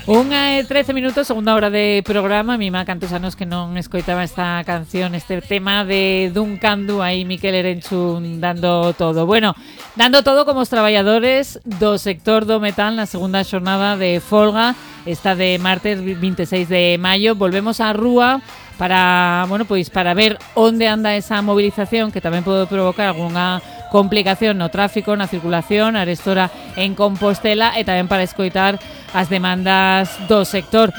13 minutos, segunda hora de programa. A mí me cantos anos que non escoitaba esta canción, este tema de Duncan Du, aí Miquel Erenchun dando todo. Bueno, dando todo como os traballadores do sector do metal na segunda xornada de folga, esta de martes 26 de maio. Volvemos á rúa para, bueno, pois para ver onde anda esa movilización que tamén pode provocar algunha complicación no tráfico, na circulación, arestora en Compostela, e tamén para escoitar as demandas do sector.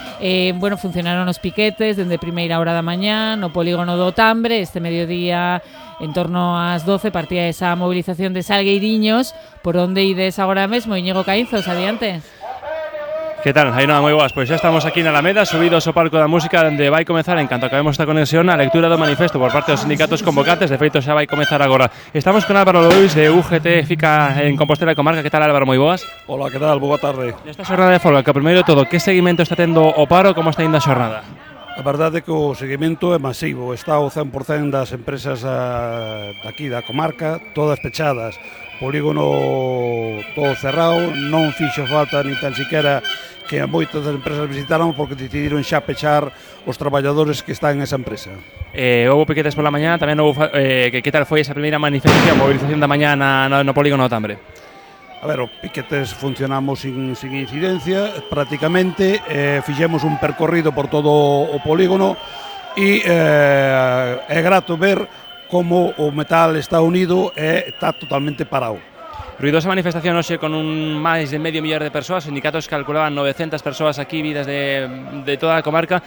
Bueno, funcionaron os piquetes dende primeira hora da mañá no polígono do Tambre. Este mediodía, en torno ás 12, partía esa movilización de Salgueiriños. Por onde ides agora mesmo, Íñigo Caínzos? Adiante. Que tal? Ainhoa, moi boas. Pois xa estamos aquí na Alameda, subidos ao palco da música, onde vai comezar, en canto acabemos esta conexión, a lectura do manifesto por parte dos sindicatos convocantes. De feito, xa vai comezar agora. Estamos con Álvaro Lois, de UGT FICA en Compostela e Comarca. Que tal, Álvaro? Moi boas. Hola, que tal? Boa tarde. Nesta xornada de folga, que primeiro de todo, que seguimento está tendo o paro, como está indo a xornada? A verdade é que o seguimento é masivo. Está o 100% das empresas daqui da comarca, todas pechadas. Polígono todo cerrado, non fixo falta ni tan siquiera que moitas das empresas visitaron, porque decidiron xa pechar os traballadores que están en esa empresa. Houve piquetes pola mañá, tamén houve que tal foi esa primeira manifestación, movilización da mañá no polígono do Tambre? A ver, os piquetes funcionamos sin incidencia, prácticamente, fixemos un percorrido por todo o polígono e é grato ver como o metal está unido e está totalmente parado. Ruidosa manifestación hoxe con máis de medio millón de persoas. Os sindicatos calculaban 900 persoas aquí vidas de toda a comarca.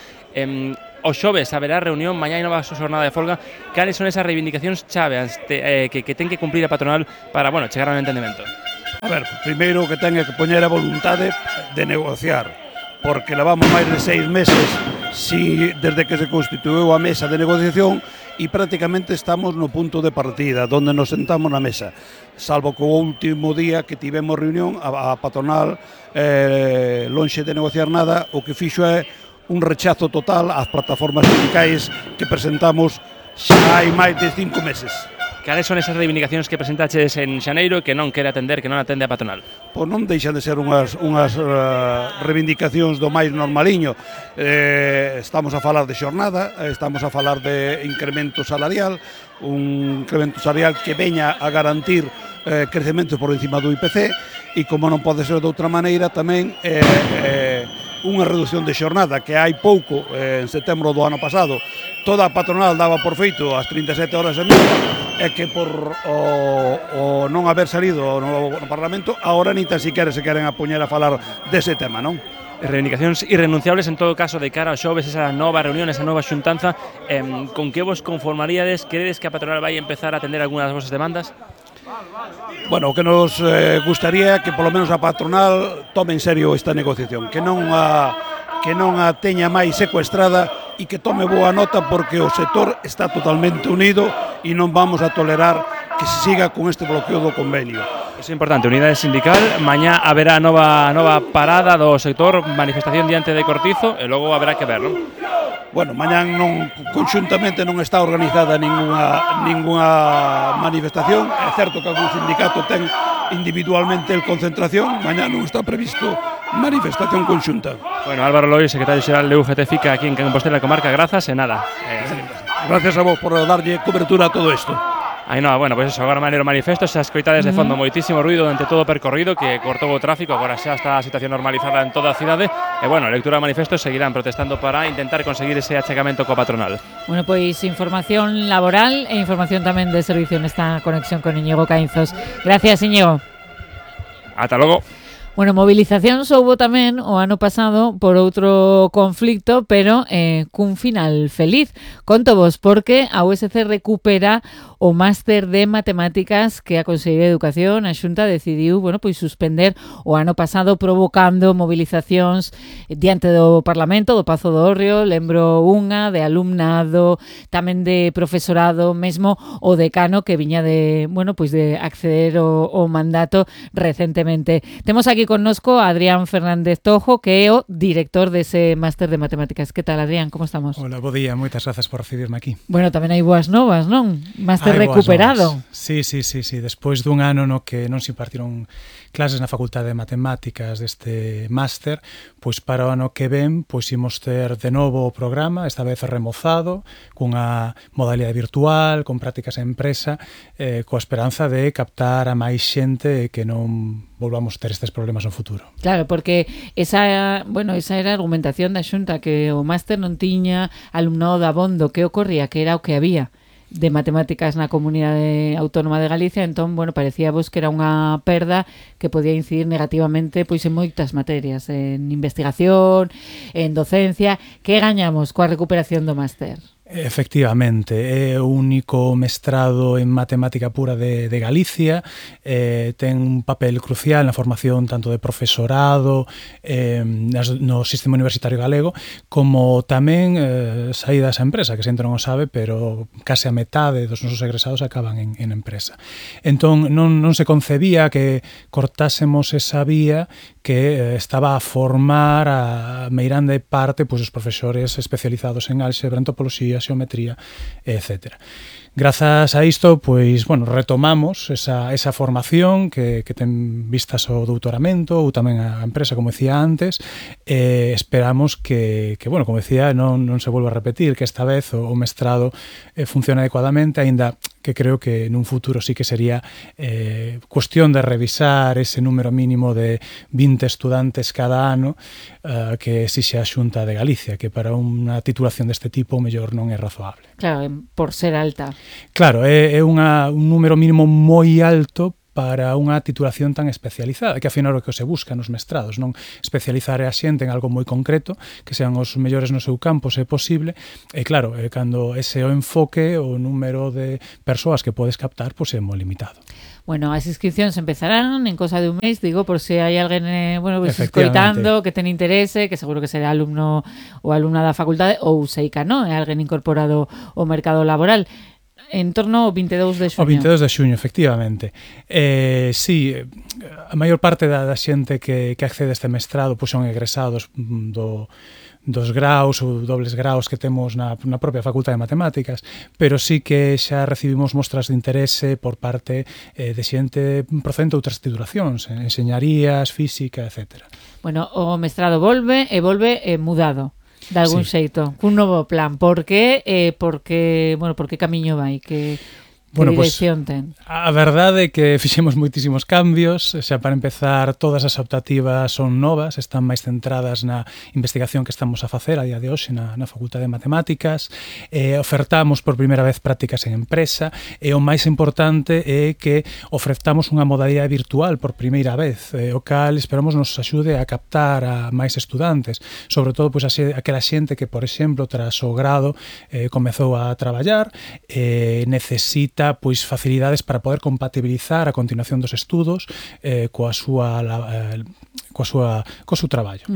O xoves haberá reunión, mañá hai nova xornada de folga. Cales son esas reivindicacións chaves que ten que cumprir a patronal para, bueno, chegar a un entendemento? A ver, primeiro que ten que poñer a voluntade de negociar, porque levamos máis de 6 meses desde que se constituíu a mesa de negociación, e prácticamente estamos no punto de partida, donde nos sentamos na mesa, salvo que o último día que tivemos reunión, a patronal, lonxe de negociar nada, o que fixo é un rechazo total ás plataformas sindicais que presentamos xa hai máis de 5 meses. Cales son esas reivindicacións que presentaches en xaneiro que non quere atender, que non atende a patronal? Pois non deixan de ser unhas reivindicacións do máis normaliño. Estamos a falar de xornada, estamos a falar de incremento salarial, un incremento salarial que veña a garantir crecemento por encima do IPC, e como non pode ser de outra maneira, tamén unha reducción de xornada que hai pouco, en setembro do ano pasado, toda a patronal daba por feito as 37 horas e media, é que por o non haber salido no Parlamento, agora ni tan siquiera se queren apoñar a falar dese tema, non? Reivindicacións irrenunciables en todo caso de cara ao xoves, esa nova reunión, esa nova xuntanza. Con que vos conformaríades? Credes que a patronal vai empezar a atender algunhas das vosas demandas? Bueno, o que nos gustaría é que polo menos a patronal tome en serio esta negociación, que non a teña máis secuestrada e que tome boa nota, porque o sector está totalmente unido e non vamos a tolerar que se siga con este bloqueo do convenio. Iso é importante, unidade sindical. Mañá haberá nova parada do sector, manifestación diante de Cortizo, e logo haberá que ver, non? Bueno, mañán conxuntamente non está organizada ninguna manifestación. É certo que algún sindicato ten individualmente el concentración, mañá non está previsto manifestación conxunta. Bueno, Álvaro Lois, secretario xeral de UGT FICA aquí en Compostela e Comarca, grazas e nada. Gracias a vos por darlle cobertura a todo isto. Ainhoa, bueno, pois eso, agora maneiro manifesto, xa escoitades de fondo moitísimo ruido durante todo o percorrido que cortou o tráfico, agora xa está a situación normalizada en toda a cidade, e bueno, a lectura do manifesto seguirán protestando para intentar conseguir ese achegamento coa patronal. Bueno, pois información laboral e información tamén de servicio nesta conexión con Íñigo Caínzos. Gracias, Íñigo. Ata logo. Bueno, movilizacións houbo tamén o ano pasado por outro conflicto, pero cun final feliz. Conto vos porque a USC recupera o máster de matemáticas que a Consellería de Educación, a Xunta, decidiu, bueno, pois suspender o ano pasado, provocando movilizacións diante do Parlamento, do Pazo do Hórreo, lembro unha de alumnado, tamén de profesorado, mesmo o decano que viña de, bueno, pois de acceder ao mandato recentemente. Temos aquí connosco a Adrián Fernández Tojo, que é o director dese máster de matemáticas. Que tal, Adrián? Como estamos? Hola, bo día, moitas grazas por recibirme aquí. Bueno, tamén hai boas novas, non? Máster recuperado. Sí. Despois dun ano no que non se impartiron clases na Facultade de Matemáticas deste máster, pois para o ano que ven pois imos ter de novo o programa, esta vez remozado, cunha modalidade virtual, con prácticas en empresa, coa esperanza de captar a máis xente e que non volvamos ter estes problemas no futuro. Claro, porque esa era a argumentación da Xunta, que o máster non tiña alumnado dabondo. Que ocorría? Que era o que había de matemáticas na Comunidade Autónoma de Galicia, entón, parecía vos que era unha perda que podía incidir negativamente pois en moitas materias, en investigación, en docencia. Que gañamos coa recuperación do máster? Efectivamente, é o único mestrado en matemática pura de Galicia, ten un papel crucial na formación tanto de profesorado no sistema universitario galego, como tamén saídas a empresa, que sempre non o sabe, pero case a metade dos nosos egresados acaban en empresa. Entón, non se concebía que cortásemos esa vía que estaba a formar a meirande parte pois os profesores especializados en álgebra, en topoloxía, xeometría, etc. Grazas a isto, pois, retomamos esa formación que ten vistas ao doutoramento ou tamén a empresa, como decía antes, e esperamos que como decía, non se volva a repetir, que esta vez o mestrado funcione adecuadamente, aínda que creo que nun futuro sí que sería cuestión de revisar ese número mínimo de 20 estudantes cada ano que exixe a Xunta de Galicia, que para unha titulación deste tipo o mellor non é razoable. Claro, por ser alta. Claro, é un número mínimo moi alto para unha titulación tan especializada, que afinal o que se busca nos mestrados, non especializar a xente en algo moi concreto, que sean os mellores no seu campo, se é posible, e claro, cando ese o enfoque, o número de persoas que podes captar, pois é moi limitado. Bueno, as inscripcións empezarán en cosa de un mes, digo, por se hai alguén escoitando, que ten interese, que seguro que será alumno ou alumna da facultade, ou seica, non? É alguén incorporado ao mercado laboral. En torno ao 22 de xuño. O 22 de xuño, efectivamente. Sí, a maior parte da xente que accede a este mestrado pois son egresados dos graus ou dobles graus que temos na propia Facultade de Matemáticas, pero sí que xa recibimos mostras de interese por parte de xente procedente de outras titulacións, enseñarías, física, etc. Bueno, o mestrado volve mudado. De algún xeito, cun novo plan. Por que? Por que camiño vai? Que dirección ten? A verdade é que fixemos moitísimos cambios. Xa para empezar, todas as optativas son novas, están máis centradas na investigación que estamos a facer a día de hoxe na Facultade de Matemáticas. Ofertamos por primeira vez prácticas en empresa, e o máis importante é que ofertamos unha modalidade virtual por primeira vez, o cal esperamos nos axude a captar a máis estudantes, sobre todo pois aquela xente que, por exemplo, tras o grado comezou a traballar, necesita pois facilidades para poder compatibilizar a continuación dos estudos co seu traballo.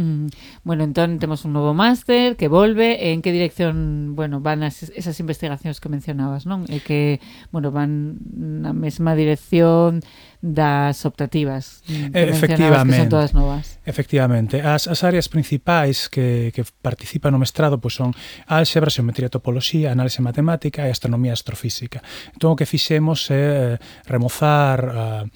Bueno, entón temos un novo máster que volve. En que dirección, van esas investigacións que mencionabas, non? E que, van na mesma dirección das optativas que mencionabas, que son todas novas. Efectivamente. As áreas principais que participan no mestrado pois son álgebra, xeometría, topoloxía, análise matemática e astronomía astrofísica. Entón, o que fixemos é remozar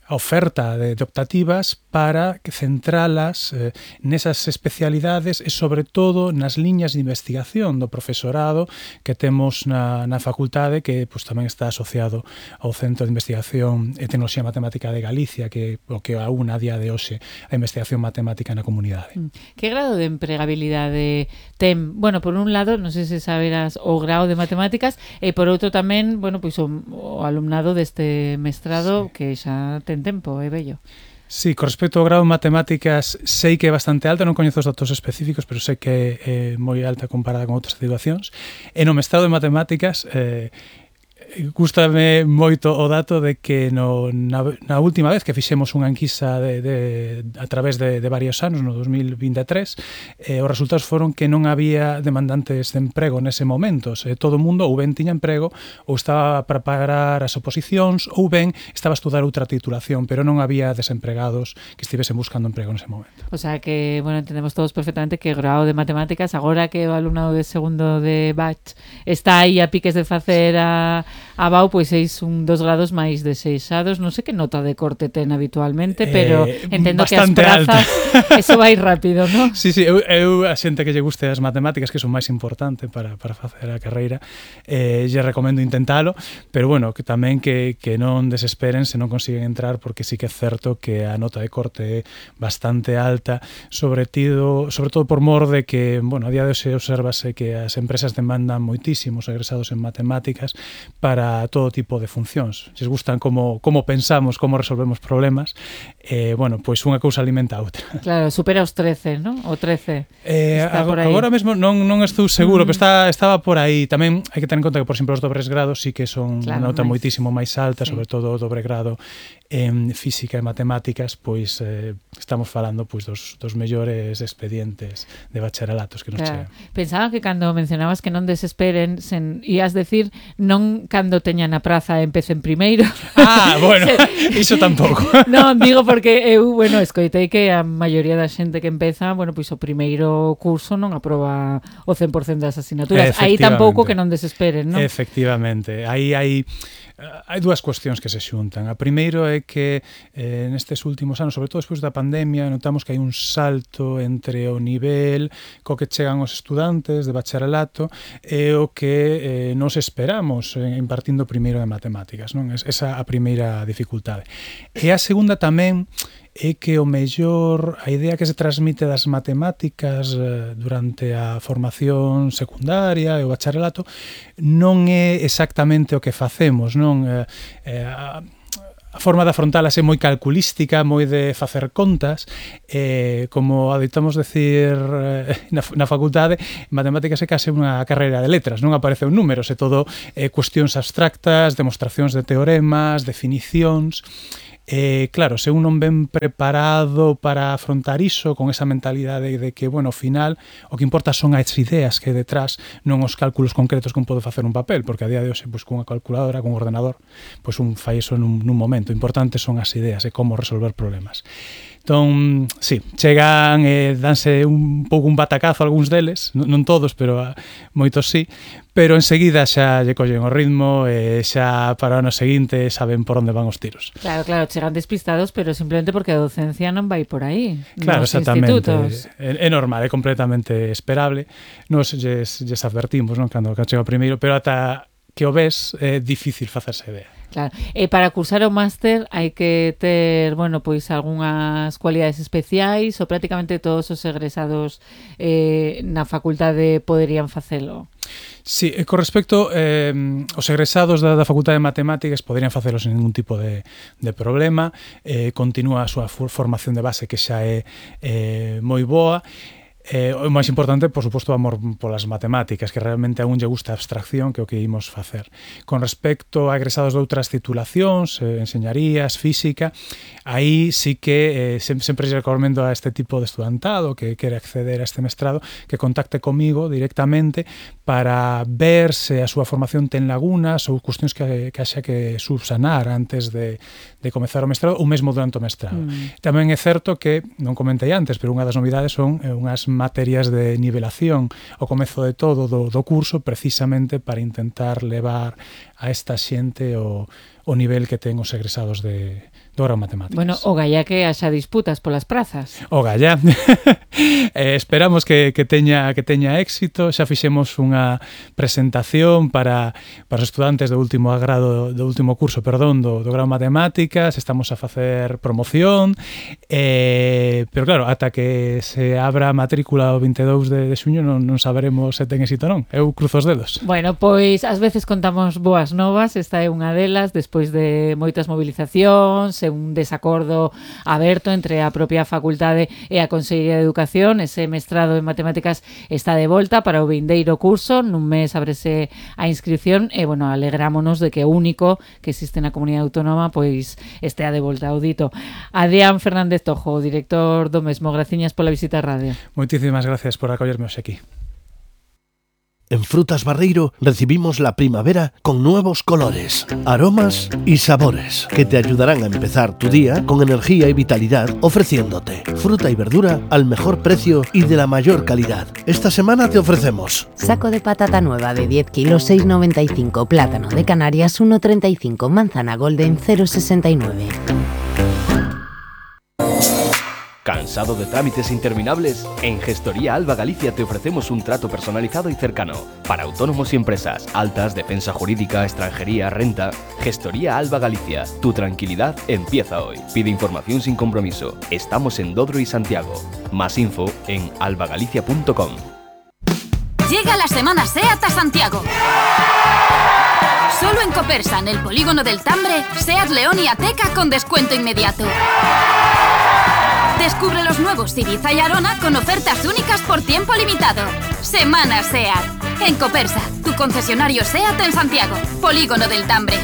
a oferta de optativas para centralas nesas especialidades e, sobre todo, nas liñas de investigación do profesorado que temos na facultade, que tamén está asociado ao Centro de Investigación e Tecnoloxía Matemática de Galicia, que o que aúna a día de hoxe a investigación matemática na comunidade. Que grado de empregabilidade ten? Por un lado, non sei se saberás o grado de matemáticas, e por outro tamén, o alumnado deste mestrado, que xa ten tempo, é bello. Sí, con respecto ao grado de matemáticas, sei que é bastante alta, non coñezo os datos específicos, pero sei que é moi alta comparada con outras titulacións. E no mestrado de matemáticas, gústame moito o dato de que na última vez que fixemos unha enquisa a través de varios anos, no 2023, os resultados foron que non había demandantes de emprego nese momento. Todo o mundo ou ben tiña emprego, ou estaba a preparar as oposicións, ou ben estaba a estudar outra titulación, pero non había desempregados que estivesen buscando emprego nese momento. O sea que, entendemos todos perfectamente que o grado de matemáticas, agora que o alumnado de segundo de batch está aí a piques de facer a Abao, pois seis un dos grados máis deseixados. Non sei que nota de corte ten habitualmente, pero entendo que as prazas eso vai rápido, non? Sí, eu a xente que lle guste as matemáticas, que son máis importante para facer a carreira, lle recomendo intentalo, pero bueno, que tamén que non desesperen se non consiguen entrar, porque sí que é certo que a nota de corte é bastante alta, sobre todo por mor de que, bueno, a día de hoxe observase que as empresas demandan moitísimos egresados en matemáticas para todo tipo de funcións. Lles gustan como pensamos, como resolvemos problemas, bueno, pois unha cousa alimenta a outra. Claro, supera os 13, non? O 13 está por aí. Agora mesmo non estou seguro, pero estaba por aí. Tamén hai que ter en conta que, por exemplo, os dobres grados sí que son unha nota moitísimo máis alta, sobre todo o dobre grado en física e matemáticas, pois estamos falando pois dos mellores expedientes de bacharelatos que nos chegan. Pensaba que cando mencionabas que non desesperen, ías decir non cando teñan a praza e empecen primeiro. Bueno, iso tampouco. Non, digo porque eu, bueno, escoitei que a maioría da xente que empeza, bueno, pois o primeiro curso non aproba o 100% das asignaturas. Aí tampouco que non desesperen, non? Efectivamente. Aí hai dúas cuestións que se xuntan. A primeiro é que nestes últimos anos, sobre todo despois da pandemia, notamos que hai un salto entre o nivel co que chegan os estudantes de bacharelato e o que nos esperamos impartindo primeiro de matemáticas, non? Esa a primeira dificultade. E a segunda tamén é que o mellor a idea que se transmite das matemáticas durante a formación secundaria e o bacharelato non é exactamente o que facemos, non? A forma de afrontalas é moi calculística, moi de facer contas, como adoitamos decir na facultade, matemáticas é case unha carreira de letras, non aparecen números, é todo cuestións abstractas, demostracións de teoremas, definicións. Claro, se un non ven preparado para afrontar iso con esa mentalidade de que, bueno, ao final o que importa son as ideas que hai detrás, non os cálculos concretos que un pode facer un papel, porque a día de hoxe, pois, cunha calculadora, cun ordenador, pois un fai iso nun momento. O importante son as ideas e como resolver problemas. Entón, sí, chegan e danse un pouco un batacazo algúns deles, non todos, pero moitos sí, pero enseguida xa lle collen o ritmo e xa para o ano seguinte saben por onde van os tiros. Claro, chegan despistados, pero simplemente porque a docencia non vai por aí. Claro, exactamente. É normal, é completamente esperable. Nos lles advertimos, non, cando chega o primeiro, pero ata que o ves é difícil facerse idea. Claro. Para cursar o máster hai que ter, bueno, pois algunhas cualidades especiais ou prácticamente todos os egresados na facultade poderían facelo? Sí, con respecto os egresados da Facultade de Matemáticas poderían facelo sen ningún tipo de problema. Continúa a súa formación de base, que xa é moi boa. O máis importante, por suposto, o amor polas matemáticas, que realmente a un lle gusta a abstracción, que é o que imos facer. Con respecto a egresados de outras titulacións, enseñarías, física, aí sí que sempre lle recomendo a este tipo de estudantado que quere acceder a este mestrado que contacte comigo directamente para ver se a súa formación ten lagunas ou cuestións que haxa que subsanar antes de comezar o mestrado ou mesmo durante o mestrado. Tamén é certo que, non comentei antes, pero unha das novidades son unhas materias de nivelación ao comezo de todo do curso, precisamente para intentar levar a esta xente o nivel que ten os egresados do grau matemáticas. Bueno, o galla que haxa disputas polas prazas. O galla. Esperamos que teña éxito. Xa fixemos unha presentación para os estudantes do último curso, do grau matemáticas. Estamos a facer promoción, pero claro, ata que se abra a matrícula o 22 de xuño non saberemos se ten éxito ou non. Eu cruzo os dedos. Bueno, pois ás veces contamos boas novas, esta é unha delas, despois de moitas movilizacións, un desacordo aberto entre a propia facultade e a Consellería de Educación. Ese mestrado en matemáticas está de volta para o vindeiro curso, nun mes ábrese a inscripción e, bueno, alegrámonos de que o único que existe na comunidade autónoma pois estea de volta ao dito. Adrián Fernández Tojo, director do mesmo, graciñas pola visita á radio. Moitísimas gracias por acollerme hoxe aquí. En Frutas Barreiro recibimos la primavera con nuevos colores, aromas y sabores que te ayudarán a empezar tu día con energía y vitalidad, ofreciéndote fruta y verdura al mejor precio y de la mayor calidad. Esta semana te ofrecemos saco de patata nueva de 10 kilos 6,95, plátano de Canarias 1,35, manzana golden 0,69. ¿Cansado de trámites interminables? En Gestoría Alba Galicia te ofrecemos un trato personalizado y cercano para autónomos y empresas, altas, defensa jurídica, extranjería, renta. Gestoría Alba Galicia, tu tranquilidad empieza hoy. Pide información sin compromiso. Estamos en Dodro y Santiago. Más info en albagalicia.com. Llega la semana SEAT a Santiago. Solo en Copersa, en el polígono del Tambre, SEAT León y Ateca con descuento inmediato. Descubre los nuevos Ibiza y Arona con ofertas únicas por tiempo limitado. Semana SEAT. En Copersa, tu concesionario SEAT en Santiago. Polígono del Tambre.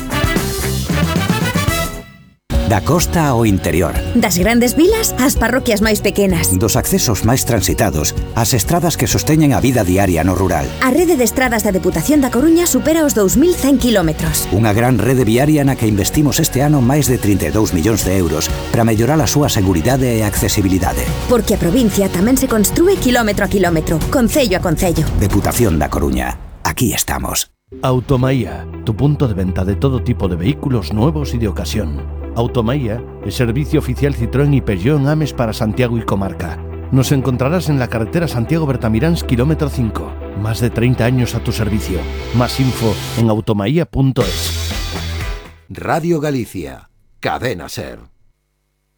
Da costa ao interior. Das grandes vilas ás parroquias máis pequenas. Dos accesos máis transitados ás estradas que sosteñen a vida diaria no rural. A rede de estradas da Deputación da Coruña supera os 2.100 kilómetros. Unha gran rede viaria na que investimos este ano máis de 32 millóns de euros para mellorar a súa seguridade e accesibilidade. Porque a provincia tamén se construe kilómetro a kilómetro, concello a concello. Deputación da Coruña. Aquí estamos. Automaía, tu punto de venta de todo tipo de vehículos nuevos y de ocasión. Automaía es servicio oficial Citroën y Peugeot en Ames para Santiago y comarca. Nos encontrarás en la carretera Santiago-Bertamiráns, kilómetro 5. Más de 30 años a tu servicio. Más info en automaía.es. Radio Galicia, Cadena SER.